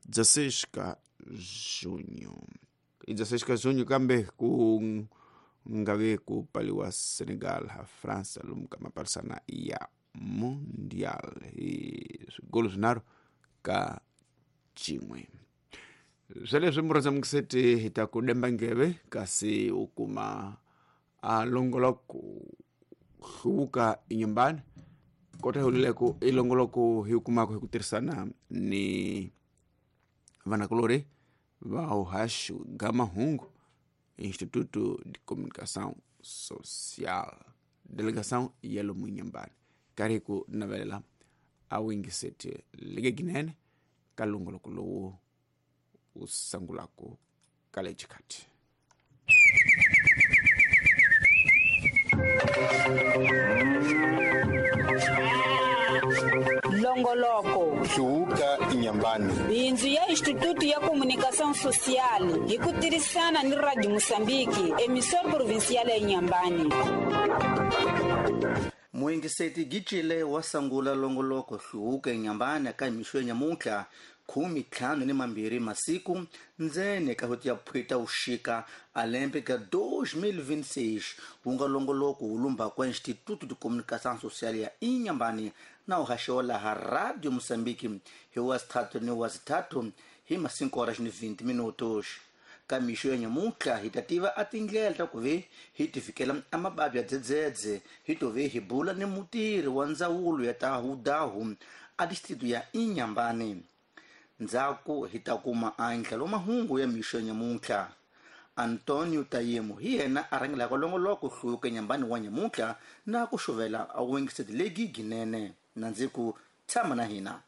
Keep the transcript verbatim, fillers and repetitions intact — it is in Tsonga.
dezesseis ka junho. I dezesseis ka junho kambe ku nga ve ku paliwa Senegal ha França lomu ka mapalisana ya Mundial hi swigolo swinharhu ka xin'we. Sweleswi murhandza mukiseti hi ta ku demba ngeve kasi u kuma a longoloko hluvuka inyumbani kota hulileko i longoloko hi kumaka hi ku tirhisana ni vanakulori va uhaxu Gamahungu Instituto de Comunicação Social delegação ya lomu inyumbani karhi ku navelela a wingiseti leke ginene ka longoloko lowu u sangulako ka le xikhathi. Longoloko hluvuka inyambani bindzu ya Instituto ya Comunicação Social hi ku tirhisana ni Radio Moçambique emissora provincial ya Inhambane. Muingiseti Gicile wa sangula longoloko hluvuka inyambani ka mixo ya nyamuntlha khume ntlhanu ni mambirhi masiku ndzeni ka hweti ya phweta uxika a lembe ka dois mil vinte e seis wu nga longoloko wu lumba kwa Instituto de Comunicação Social ya Inhambane na uhaxo laha Radio Moçambique hi wa sithathu ni wa sithathu hi ma cinco horas ni vinte minutos. Ka mixo ya nyamuntlha hi ta tiva a tindlela ta ku ve hi ti fikela a mababi ya dzedzedze hi to ve hi bula ni mutirhi wa ndzawulo ya ta hudahu a distrito ya Inhambane. Ndzhaku hi ta kuma andlalo mahungu ya mixo ya nyamuntlha. Antonio Tayemo hi yena a rhangelaka longoloko hluvuka Inhambane wa nyamuntlha na ku xuvela a wingiseti legi ginene. Na ndzi ku tshama na hina.